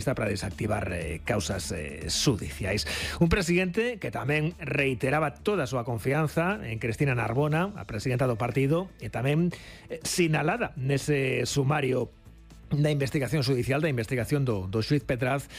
está para desactivar causas xudiciais. Un presidente que tamén reiteraba toda a súa confianza en Cristina Narbona, a presidenta do partido, e tamén sinalada nese sumario da investigación judicial, da investigación do xuiz Petraz,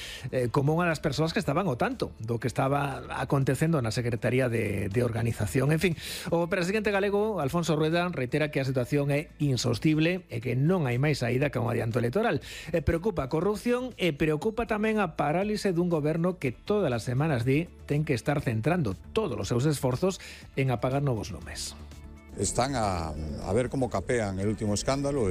como unha das persoas que estaban ao tanto do que estaba acontecendo na Secretaría de Organización. En fin, o presidente galego, Alfonso Rueda, reitera que a situación é insostible e que non hai máis saída que un adianto electoral. Preocupa a corrupción e preocupa tamén a parálise dun goberno que todas as semanas ten que estar centrando todos os seus esforzos en apagar novos lumes. Están a ver cómo capean el último escándalo,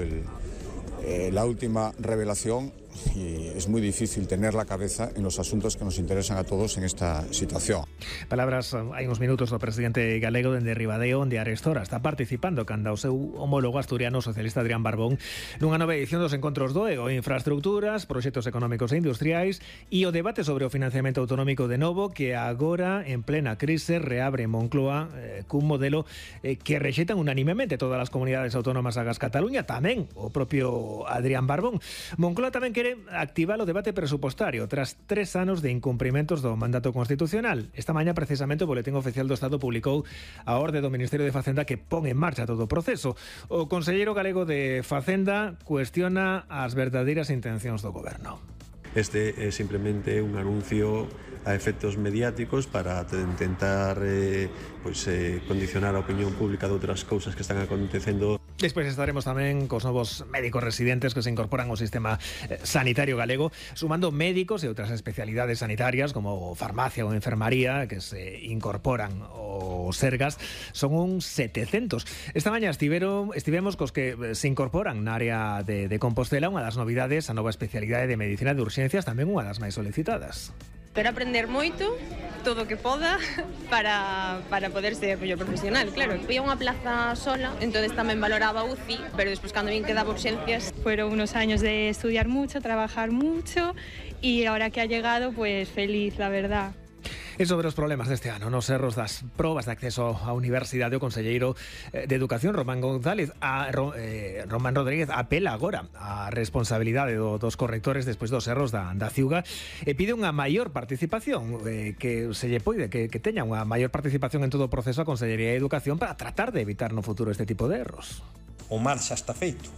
la última revelación, y es muy difícil tener la cabeza en los asuntos que nos interesan a todos en esta situación. Palabras hai uns minutos do presidente galego dende Ribadeo, onde Arestora está participando canda o seu homólogo asturiano socialista Adrián Barbón nunha nova edición dos encontros do EO, infraestructuras, proxectos económicos e industriais e o debate sobre o financiamento autonómico de novo que agora en plena crise reabre en Moncloa cun modelo que rexeitan unanimemente todas as comunidades autónomas agas Cataluña, tamén o propio Adrián Barbón. Moncloa tamén quere activar o debate presupostario tras 3 anos de incumprimentos do mandato constitucional. Esta mañá, precisamente, o Boletín Oficial do Estado publicou a orde do Ministerio de Facenda que pon en marcha todo o proceso. O conselleiro galego de Facenda cuestiona as verdadeiras intencións do goberno. Este é simplemente un anuncio a efectos mediáticos para intentar condicionar a opinión pública de outras cousas que están acontecendo. Despois estaremos tamén cos novos médicos residentes que se incorporan ao sistema sanitario galego, sumando médicos e outras especialidades sanitarias como farmacia ou enfermaría que se incorporan aos Sergas. Son uns 700. Esta mañá estivemos cos que se incorporan na área de Compostela, unha das novidades, a nova especialidade de medicina de urxencias, tamén unha das máis solicitadas. Pero aprender moito, todo o que poda, para poder ser mellor profesional, claro. Había unha plaza sola, entonces tamén valoraba UCI, pero despois cando vin que daba urxencias. Fueron unos años de estudiar mucho, trabajar mucho y ahora que ha llegado, pues feliz, la verdad. E sobre os problemas deste ano nos erros das probas de acceso á universidade, o conselleiro de Educación Román Rodríguez apela agora á responsabilidade dos correctores despois dos erros da CIUGA e pide unha maior participación, que se lle poide que teña unha maior participación en todo o proceso a Consellería de Educación para tratar de evitar no futuro este tipo de erros. O mal xa está feito.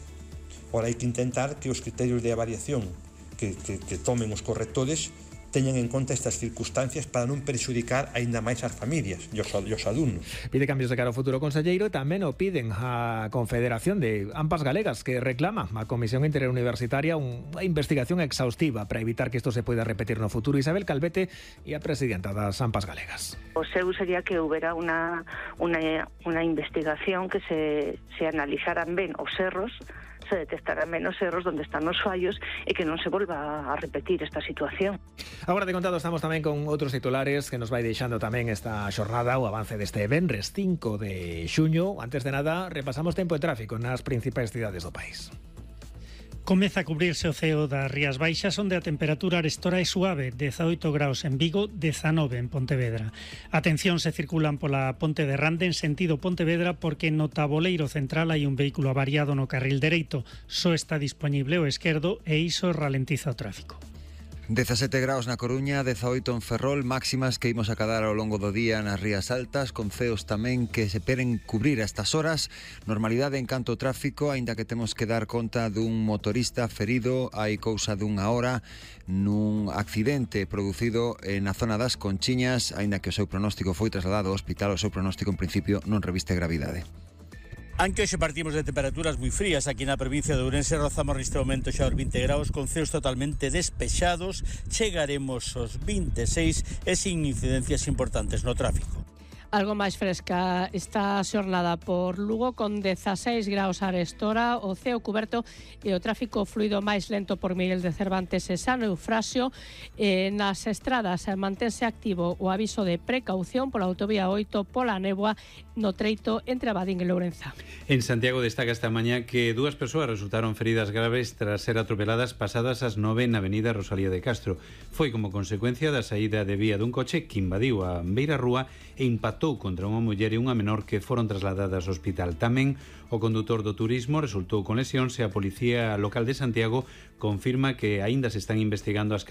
Ora hai que intentar que os criterios de avaliación que tomen os correctores teñan en conta estas circunstancias para non perxudicar aínda máis as familias e os alumnos. Pide cambios de cara ao futuro conselleiro e tamén o piden a Confederación de AMPAs Galegas, que reclama a Comisión Interuniversitaria unha investigación exhaustiva para evitar que isto se poida repetir no futuro. Isabel Calvete e a presidenta das AMPAs Galegas. O seu sería que houbera unha investigación que se analizaran ben os erros, se detectarán menos erros donde están os fallos e que non se volva a repetir esta situación. Agora de contado estamos tamén con outros titulares que nos vai deixando tamén esta xornada, o avance deste venres 5 de xuño. Antes de nada, repasamos tempo e tráfico nas principais cidades do país. Comeza a cubrirse o ceo das Rías Baixas, onde a temperatura arestora é suave, 18 graus en Vigo, 19 en Pontevedra. Atención se circulan pola Ponte de Rande en sentido Pontevedra porque no taboleiro central hai un vehículo avariado no carril dereito. Só está dispoñible o esquerdo e iso ralentiza o tráfico. 17 graus na Coruña, 18 en Ferrol, máximas que imos acadar ao longo do día nas Rías Altas, con ceos tamén que se peren cubrir a estas horas. Normalidade en canto ao tráfico, aínda que temos que dar conta dun motorista ferido hai cousa dunha hora nun accidente producido na zona das Conchiñas, aínda que o seu pronóstico foi trasladado ao hospital, o seu pronóstico en principio non reviste gravidade. Aunque hoxe partimos de temperaturas moi frías aquí na provincia de Ourense, rozamos neste momento xa os 20 graus con ceos totalmente despexados, chegaremos aos 26 e sin incidencias importantes no tráfico. Algo máis fresca esta xornada por Lugo con 16 graus a arestora, o ceo cuberto e o tráfico fluido máis lento por Miguel de Cervantes e San Eufrasio. Nas estradas mantense activo o aviso de precaución pola autovía 8 pola néboa no treito entre Abadín e Lourenza. En Santiago destaca esta mañá que 2 persoas resultaron feridas graves tras ser atropeladas pasadas as 9 na avenida Rosalía de Castro. Foi como consecuencia da saída de vía dun coche que invadiu a beira rúa e impactou matou contra unha muller e unha menor que foron trasladadas ao hospital. Tamén o condutor do turismo resultou con lesións e a Policía Local de Santiago confirma que aínda se están investigando as